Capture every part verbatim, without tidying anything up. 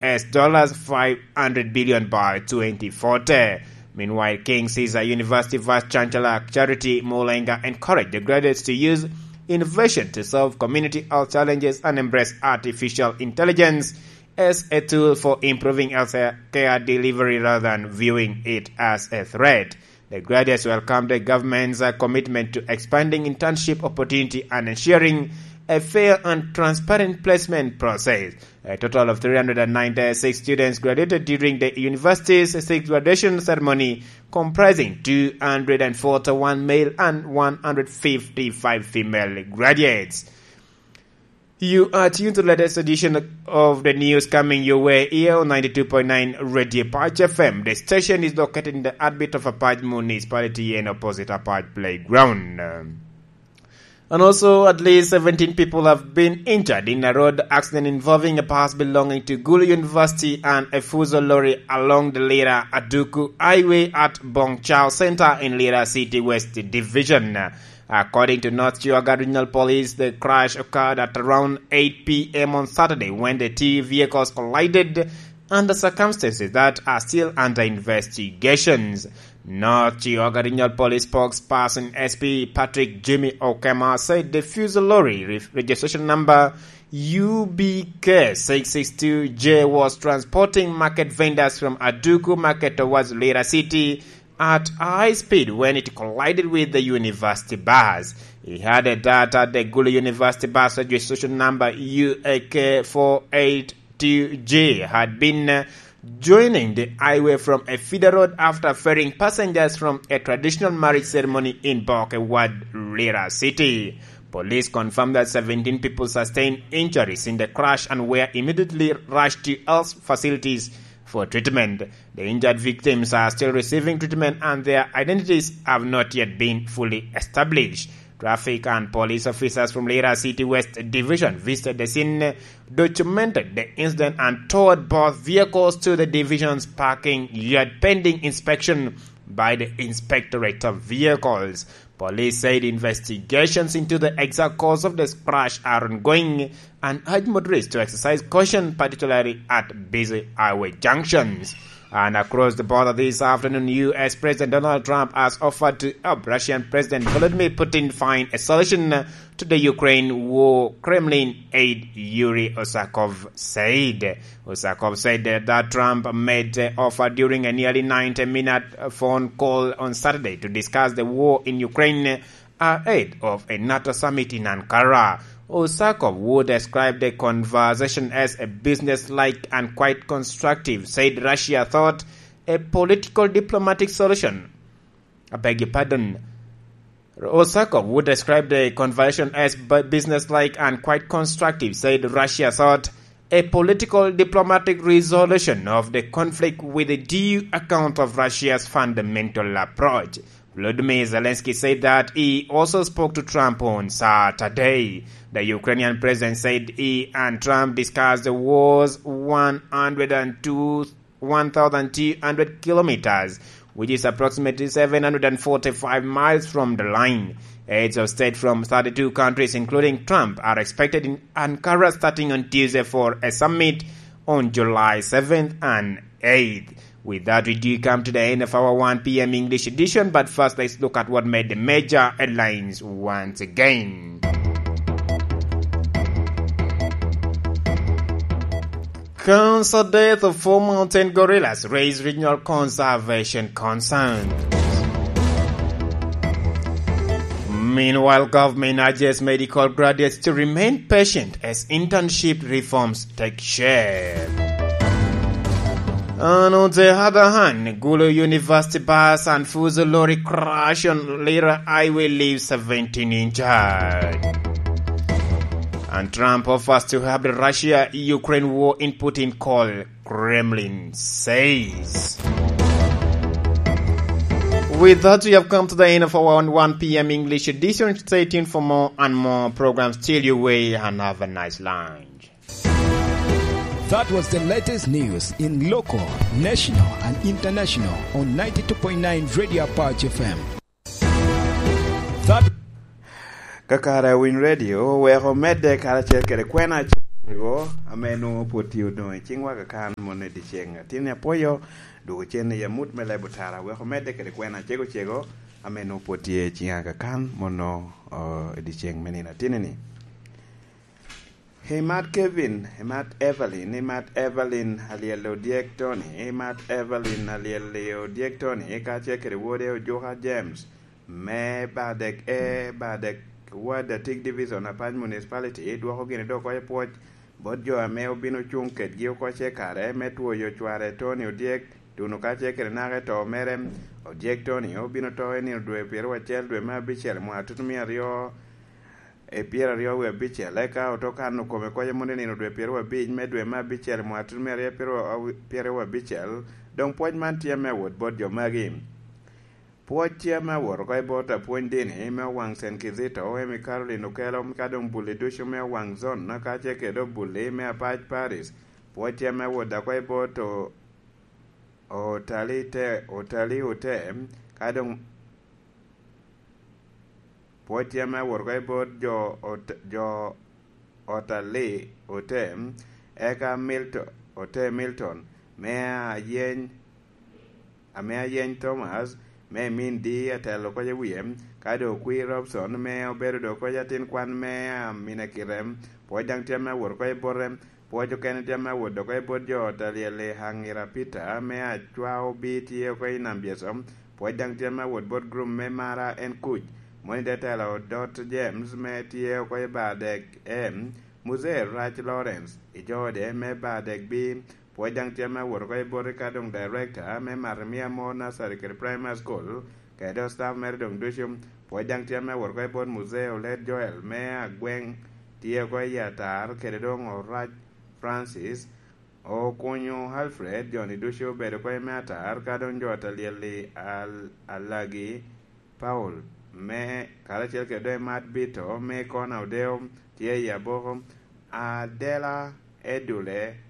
as dollars five hundred billion by twenty forty. Meanwhile, King Caesar University Vice Chancellor Charity Mulenga encouraged the graduates to use innovation to solve community health challenges and embrace artificial intelligence as a tool for improving health care delivery rather than viewing it as a threat. The graduates welcomed the government's, uh, commitment to expanding internship opportunity and ensuring a fair and transparent placement process. A total of three hundred and ninety-six students graduated during the university's sixth graduation ceremony, comprising two hundred forty-one male and one hundred fifty-five female graduates. You are tuned to the latest edition of the news coming your way here on ninety-two point nine Radio Patch F M. The station is located in the heartbeat of Apac Municipality and opposite Apac Playground. And also, at least seventeen people have been injured in a road accident involving a bus belonging to Gulu University and a Fuso lorry along the Lira Aduku Highway at Bongchao Center in Lira City West Division. According to North Chiwaga Regional Police, the crash occurred at around eight p m on Saturday when the two vehicles collided under circumstances that are still under investigations. North Chiwaga Regional Police spokesperson S P Patrick Jimmy Okema said the Fuso lorry re-, registration number U B K six six two J was transporting market vendors from Aduku Market towards Lira City at high speed when it collided with the university bus. He added that at the Gulu University bus registration number U A K four eight two J had been, uh, joining the highway from a feeder road after ferrying passengers from a traditional marriage ceremony in Boke Ward, Lira City. Police confirmed that seventeen people sustained injuries in the crash and were immediately rushed to health facilities for treatment. The injured victims are still receiving treatment and their identities have not yet been fully established. Traffic and police officers from Lira City West Division visited the scene, documented the incident, and towed both vehicles to the division's parking yard pending inspection by the Inspectorate of Vehicles. Police said investigations into the exact cause of the crash are ongoing and urge motorists to exercise caution, particularly at busy highway junctions. And across the border this afternoon, U S President Donald Trump has offered to help Russian President Vladimir Putin find a solution to the Ukraine war, Kremlin aide Yuri Osakov said. Osakov said that Trump made the offer during a nearly ninety-minute phone call on Saturday to discuss the war in Ukraine ahead of a NATO summit in Ankara. Osakov, who described the conversation as a business-like and quite constructive, said Russia thought a political diplomatic solution, I beg your pardon, Osakov, who described the conversation as bu-, business-like and quite constructive, said Russia sought a political diplomatic resolution of the conflict with a due account of Russia's fundamental approach. Volodymyr Zelensky said that he also spoke to Trump on Saturday. The Ukrainian president said he and Trump discussed the war's one hundred and two one thousand two hundred kilometers, which is approximately seven hundred forty-five miles from the line. Heads of state from thirty-two countries, including Trump, are expected in Ankara starting on Tuesday for a summit on July seventh and eighth. With that, we do come to the end of our one p.m. English edition, but first let's look at what made the major headlines once again. Cancer death of four mountain gorillas raise regional conservation concerns. Meanwhile, government urges medical graduates to remain patient as internship reforms take shape. And on the other hand, Gulu University bus and Fuso lorry crash on Lira Highway leaves seventeen injured. And Trump offers to help the Russia-Ukraine war in Putin call, Kremlin says. With that, we have come to the end of our one p.m. English edition. Stay tuned for more and more programs till your way, and have a nice lunch. That was the latest news in local, national, and international on ninety-two point nine Radio Apache F M. That Ka kare a Winy Radio oweko medde karacel kede kwena acel Ego, ame nwoŋo pwod tye odoŋ i ciŋwa kakan moni i dyeceŋ. Atin apwoyo dwogo cen i amut me leb otara, wek omedde kede kwena cego cego, ame nwoŋo pwod tye i ciŋa kakan mono, o, i dyeceŋ me nino atinni. Imat Kevin, imat Evelyn, imat Evelyn alyel odyek Tony, imat Evelyn alyel odyek Tony, kacel kede wode Ojuka James, me Badek E, Badek Ward Atik Division, Apac Municipality, dwoko gini dok oko i pwoc bot jo ame obin ocuŋ kedgi oko ce kare me twoyo cware Tony Odyek, tuno kacel kede naka i to mere. Odyek Tony obin oto i nino dwe pyeraryo acel dwe me abicel mwaka tutumia aryo e pyeraryo wie abicel, eka oto kano kome koc amon i nino dwe pyeraryo abic me dwe me abicel mwaka tutumia aryo pyeraryo abicel. Doŋ pwoc man tye me awot bot jo magi. Pwoc tye ame awot oko i bot apwony dini me owaŋ Saint Kizito, Amy Caroline Okello, ka doŋ bulli ducu me owaŋ zon, kacel kede obulli me Apac Parish. Pwoc tye ame awot oko i bot o-, Otali te, Otali Ote, ka doŋ pwoc tye ame awot oko i bot jo ot-, jo Otali Ote, eka Milton, Ote Milton, me ayeny ame ayeny Thomas, me min di atelo koc i wie, ka doŋ okwi Robson, me obedo doŋ koc atin kwan me, ah, mina kite, pwoc daŋ tye ame awot oko i bote, pwoc okene tye ame awot oko i bot jo ot alyel i Hangira Peter, me acwa obi tye oko i Nambyeso, pwoc daŋ tye ame awot bot group me Mara en kuc, moni te telo Dot James, me tye oko i Badek M, Muzee Rac Lawrence, i jo ode me Badek B, pwoc daŋ tye ame awot oko i bot ka doŋ director me Marimia Mo Nursery kede Primary School, kede doŋ staff mere doŋ ducu. Pwoc daŋ tye ame awot oko i bot Muzee Olet Joel me Agweng, tye oko i Atar, kede doŋ Orac Francis, Okunyo Alfred, joni ducu obedo oko i me Atar, ka doŋ jo ot alyel i Al-, Alagi Paul, me karacel kede doŋ Mat Bito, me Kona Odeo, tye i Aboko, Adela Edule,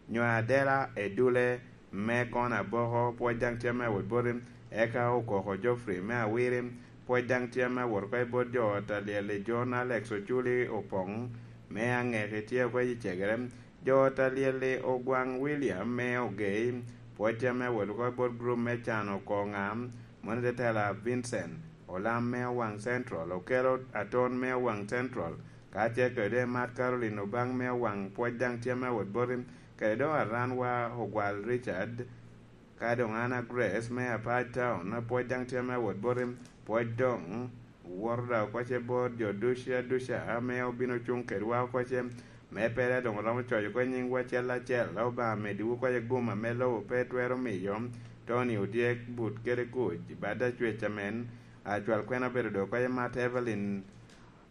nyo Adela Edule, me Kona Aboko, pwoc daŋ tye ame awot boti, eka Okoko Geoffrey me Awiri, pwoc daŋ tye ame awot oko i bot jo ot alyel i John Alex Oculi Opoŋ, me Aŋeki tye oko i Cegere, jo ot alyel i Ogwaŋ William me Ogei, pwoc tye ame awot oko i bot group me Cano Koŋa, moni te tela Vincent Olam me Owaŋ Central, Okelo Aton me Owaŋ Central, kacel kede Mat Caroline Obaŋ me Owaŋ, pwoc daŋ tye ame awot boti, kede doŋ Aranwa Ogwal Richard, ka doŋ Anna Grace me Apac Town, pwoc daŋ tye ame awot boti, pwoc doŋ woto daŋ oko ce bot jo ducu aduca ame obino cuŋ kedwa oko ce, me pe daŋ doŋ oromo coc oko nyiŋwu acel acel. Obaŋa meddiwu oko ce gum ame lobo pe twero miyo, Tony Odyek, but kede kuc, bad acwec amen, acwal kwena obedo doŋ oko ce Mat Evelyn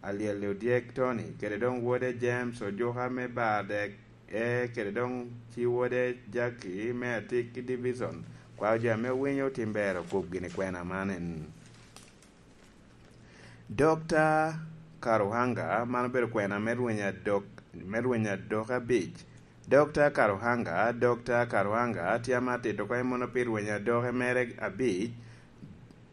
Alyel Odyek Tony, kede doŋ wode James Ojuka me Badek E, kede doŋ ci wode Jackie me Atik Division. Kwao jo ame owinyo otim ber okub gini kwena man en. Dokta Karuhanga, man obedo kwena me rweny adok, me rweny adok abic. Dokta Karuhanga, Dokta Karuhanga tye ame atito oko i mono pi rweny adoke mere abic.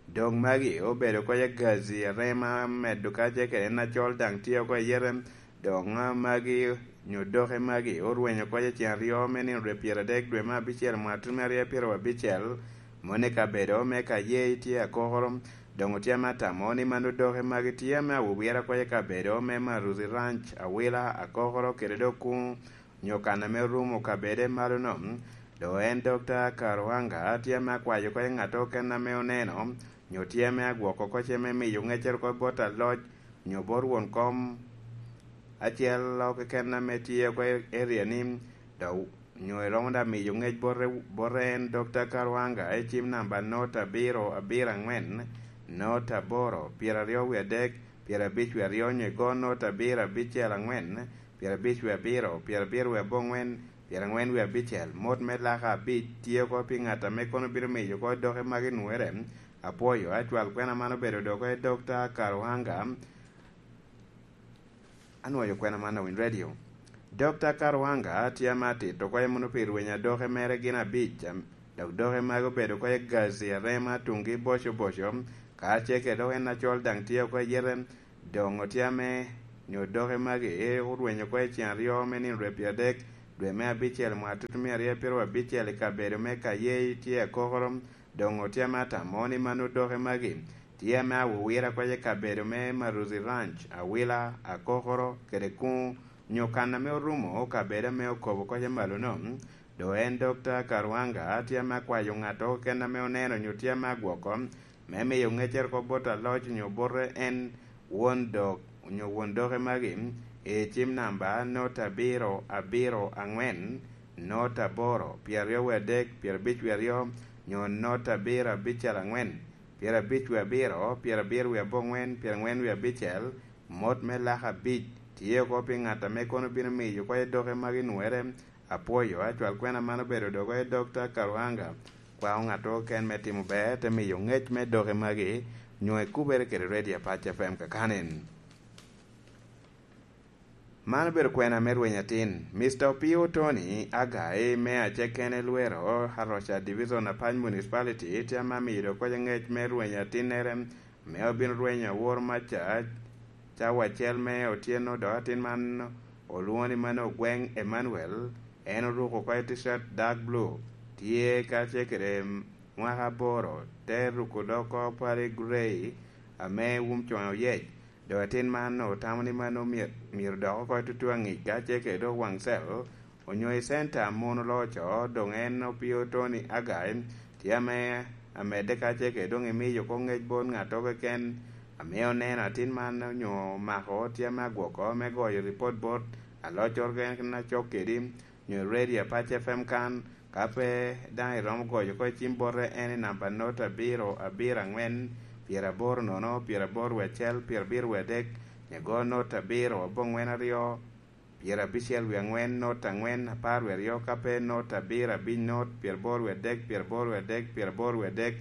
Doŋ magi obedo oko i gazi arema medo kacel kede en acol daŋ tye oko i yete. Doŋ magi nyo doke magi orwenyo oko i ceng aryo me nino dwe pyeradek dwe me abicel mwaka tutumia aryo pyeraryo abicel. Moni kabedo me Kayei tye akokoro. Doŋ otye ame atamo ni mano doke magi tye ame awowira oko i kabedo me Maruzi Ranch, Awila, akokoro kede doŋ kuŋ nyo kan ame orumo kabede malo-no. Doŋ en Dokta Karuhanga tye ame akwayo oko i ŋat okene ame oneno, nyo tye ame agwoko oko ce me miyo ŋeccere oko bot aloc, nyo bot won kom acel keken ame tye oko i area-ni, dok nyo iromo daŋ miyo ŋec bote, bote en Dokta Karuhanga i cim namba not abiro abiro angwen, not aboro, pyeraryo wie adek, pyerabic wie aryo, nyo igo not abiro abicel angwen, pyerabic wie abiro, pyerabiro wie abongwen, pyerangwen wie abicel. Mot me laka abic tye oko pi ŋat ame kono bino miyo oko doke magi nwoŋere. Apwoyo, acwal kwena man obedo doke Dokta Karuhanga. Anwoyo kwena man awiny radio. Dokta Karuhanga tye ame atito oko mono pi rweny adoke mere gin abic, am-, dok doke magi obedo oko i gazi arema tuŋgi boco boco, kacel kede dok en acol daŋ tye oko i yete. Doŋ otye ame nyo doke magi orwenyo oko i cen aryo me nino rwepyadek, dwe me abicel, mwaka tutumia aryo pyeraryo abicel, i kabedo me Kayei tye akokoro. Doŋ otye ame atamo ni mano doke magi tye ame awowira oko i kabedo me Maruzi Ranch, Awila, Akokoro, kede Kuŋ, nyo kan ame orumo kabedo ame okobo oko i malo-no. Doŋ en Dokta Karwanga tye ame akwayo ŋat keken ame oneno nyo tye ame agwoko me miyo ŋeccere oko bot aloc nyo bote en won dok, nyo won doke magi, i cim namba nota abiro abiro aŋwen, nota aboro, pyeraryo wie adek, pyerabic wie aryo, nyo nota abiro abicel aŋwen, pyerabic wie abiro, pyerabiro wie aboŋwen, pyeraŋwen wie abicel, mot me laka abic tye oko pi ŋat ame kono bino miyo oko i doke magi nwere. Apwoyo, acwal kwena man obedo dogo i Dokta Karwanga. Kwao ŋat keken me timo ber, te miyo ŋec me doke magi, nyo ikubere kede Radio Apac F M kakanen. Man obedo kwena me rweny atin. Mister Opio Tony Agai me Acekene Lwero, Aroca Division, Apac Municipality, tye ame amiyo dogo ŋec me rweny atinnere, ame obino rwenyo awor maca cawa acel me otyeno, dok atin man olwoŋo ni mano Ogweng Emmanuel. En oruko oko i T-shirt dark blue, tye kacel kede mwaka aboro, te ruko doko pale grey ame wun coŋe oyec. Dok atin man otamo ni mano my-, myero dok oko i tutu aŋic kacel kede dok waŋ cel, onyo i center a mon oloco. Doŋ en Opio Tony Agai tye ame amedde kacel kede doŋ imiyo oko ŋec bot ŋat keken ame oneno atin man onyo omako tye ame agwoko me goyo ripot bot aloc keken acok kedi, nyo Radio Apac F M kan. Ka pe daŋ iromo goyo oko i cim bote en i namba nota abiro abiro aŋwen, pyeraboro nono, pyeraboro wie acel, pyerabiro wie adek, nyo igo nota abiro aboŋwen aryo, pyerabicel wie aŋwen, nota aŋwen, apar wie aryo, ka pe nota abiro abic, nota pyeraboro wie adek, pyeraboro wie adek, pyeraboro wie adek,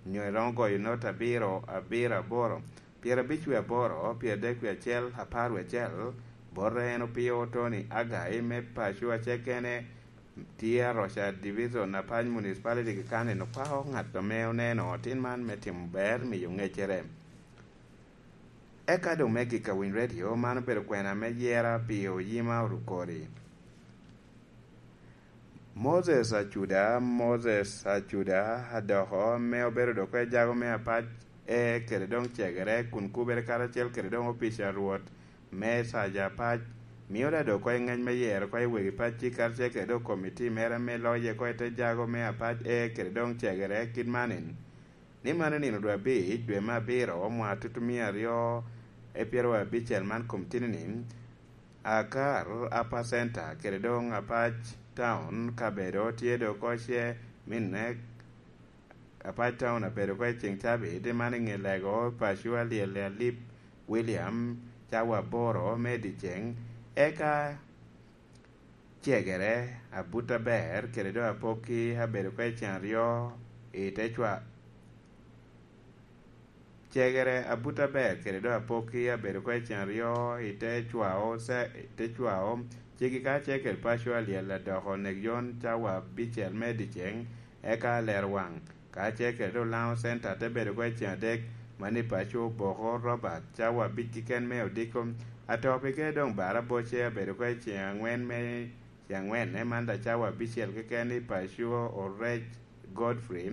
nyo iromo goyo nota abiro abiro aboro, pyerabic wie aboro, pyeradek wie acel, apar wie acel. Bote en Opio Tony Agai me paco acel kene, tye Aroca Division, Apac Municipality keken, en okwako ŋat ame oneno tin man me timo ber, miyo ŋeccere. Eka doŋ me gik a Winy Radio, man obedo kwena me yera pi Oyima Orukori. Moses Acuda, Moses Acuda Adoko, ame obedo doŋ oko i jago me Apac E kede doŋ Cegere, kun kubere karacel kede doŋ opic a Rwot me Saja Apac, mio da doŋ oko i ŋec me yero oko i wegi pacci karacel kede doŋ komiti mere ame loye oko i te jago me Apac E kede doŋ Cegere kit man en. Ni mano nino dwe abic, dwe me abiro, mwaka tutumia aryo e pyeraryo abicel man kom tini-ni, Akar Upper Center kede doŋ Apac Town kabedo tye doŋ oko ce minne Apac Town abedo oko i ceŋ cabit, man i ŋe lego paco alyel Alip William cawa aboro me dyeceŋ, eka Cegere abut aber kede doŋ apokki abedo oko i ceŋ aryo i te cwa-, Cegere abut aber kede doŋ apokki abedo oko i ceŋ aryo i te cwao ce-, i te cwao ceggi kacel kede paco alyel Adoko onek yon cawa abicel me dyeceŋ, eka Lerwaŋ kacel kede doŋ Laŋo Center te bedo oko i ceŋ adek, mano i paco Oboko Robert cawa abic keken me odiko. Ato pi kede doŋ bara aboce abedo oko i ceŋ aŋwen me, ceŋ aŋwen, ento man daŋ cawa abicel keken i paco Orec Godfrey,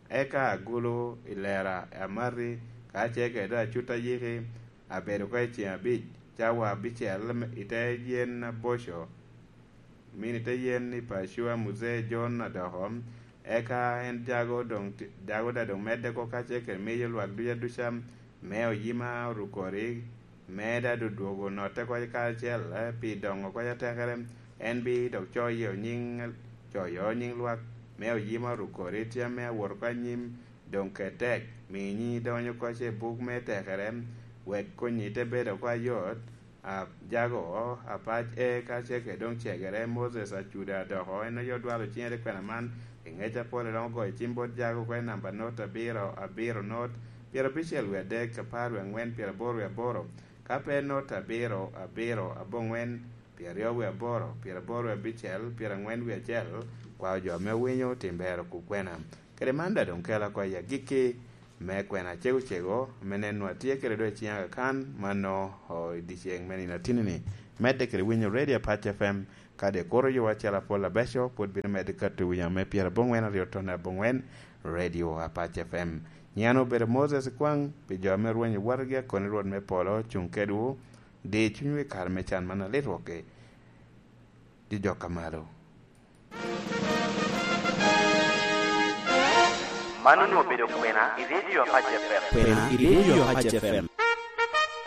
eka Agulu i Lera Amati kacel kede doŋ Acut Ayiki abedo oko i ceŋ abic cawa abicel i te yen aboco. Min i te yen i paco a Muzee John Adoko, eka en jago doŋ ti-, jago daŋ doŋ medde oko kacel kede miyo lwak duc aduca me Oyima Orukori, me daŋ dodwogo notte oko kacel, eh, pi doŋo oko atekere, en bi dok coyo nyiŋ, coyo nyiŋ lwak me Oyima Orukori, tye ame awot oko anyim, doŋ ket tek, mi nyiŋi donyo oko i buk me tekere, wek konnyi te bedo oko ayot. A, jago, Apac E kacel kede doŋ Cegere, Moses Acuda Adoko, en aye odwalo ciŋe te kwena man, i ŋec apol eromo goyo cim bot jago oko i namba not abiro abiro not, pyerabicel wie adek, apar wie aŋwen, pyeraboro wie aboro, ka pe not abiro abiro aboŋwen, pyeraryo wie aboro, pyeraboro wie abicel, pyeraŋwen wie acel, kwao jo ame owinyo tim ber okub kwena. Kede man daŋ doŋ kela oko i agikki me kwena cego cego, me neno atye kede dwe ciŋ akakan, mano, o, i dyeceŋ me nino atini-ni. Medde kede winyo Radio Apac F M, kadi kuro yo acel apol abeco, pwod bino medde kato winyo ame pyerabongwen aryo tone abongwen, Radio Apac F M. Nyiŋ an obedo Moses Kwaŋ, pi jo ame rwenyo watgi akoni Rwot me polo, cuŋ kedwu, di cunywu i kare me can man alit wokki. Di jok a malo. Man onwoŋo obedo kwena i Radio Apac F M. Kwena i Radio Apac F M.